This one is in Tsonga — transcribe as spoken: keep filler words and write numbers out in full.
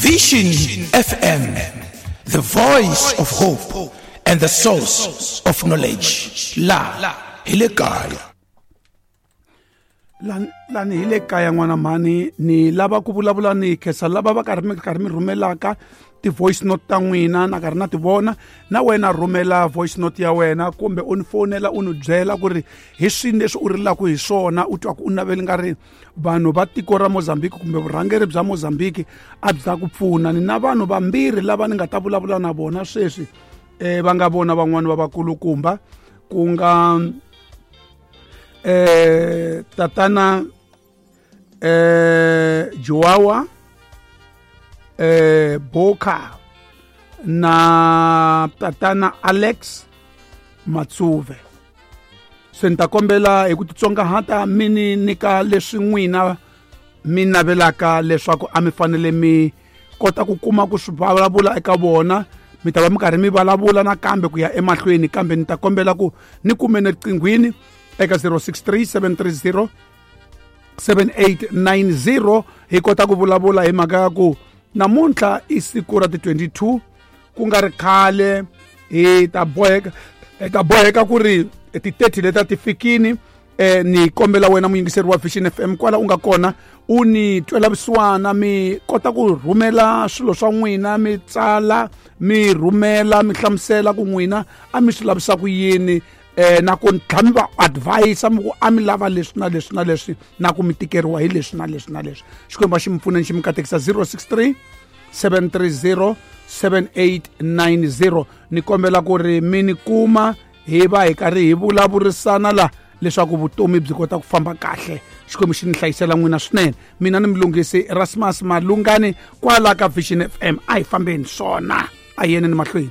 Vision F M, the voice of hope and the source of knowledge. La hi le kaya. Lani hi le kaya n'wana mhani, ni lava ku vulavula ni khensa lava va karhi mi karhi mi rhumelaka ti-voice note ta n'wina, na karhi na ti vona. Na wena rhumela voice note ya wena kumbe u ni fonela u ni byela ku ri hi swini leswi u rilaka hi swona, u twa ku u naveli nga ri vanhu va tiko ra Mozambique kumbe vurhangeri bya Mozambique a byi ta ku pfuna. Ni na vanhu vambirhi lava ni nga ta vulavula na vona sweswi, eh va nga vona van'wani va vakulukumba, ku nga eh tatana eh Joao eh Boka na tatana Alex Matsuve. Se ni ta kombela hi ku titsongahata mi ni nyika leswi n'wina mi navelaka leswaku a mi fanele mi kota ku kuma ku swi vulavula eka vona. Mi ta va mi karhi mi vulavula nakambe ku ya emahlweni, kambe ni ta kombela ku ni kume ni riqinghwini eka zero six three seven three zero seven eight nine zero hi kota ku vulavula hi mhaka ya ku namuntlha i siku ra ti twenty-two, ku nga ri khale hi ta boheka, hi ta boheka ku ri ti thirty leta ti fikini. Eh ni kombela wena muyingiseri wa Vision F M kwala u nga kona u ni twela vusiwana, mi kota ku rhumela swilo swa n'wina, mi tsala, mi rhumela, mi hlamusela ku n'wina a mi swi lavisa ku yini, eh na ku tlhela mi va advise mi ku a mi lava leswi na leswi na leswi, na ku mi tikeriwa hi leswi na leswi na leswi. Xikwembu xi mi pfune, xi mi katekisa. zero six three seven three zero seven eight nine zero. Ni kombela ku ri mi ni kuma hi va hi karhi hi vulavurisana la leswaku vutomi byi kota ku famba kahle. Xikwembu xi ni hlayisela n'wina swinene. Mina ni Mlungisi Erasmus Malungani kwala ka Vision F M. A hi fambeni swona, a hi yeneni mahlweni.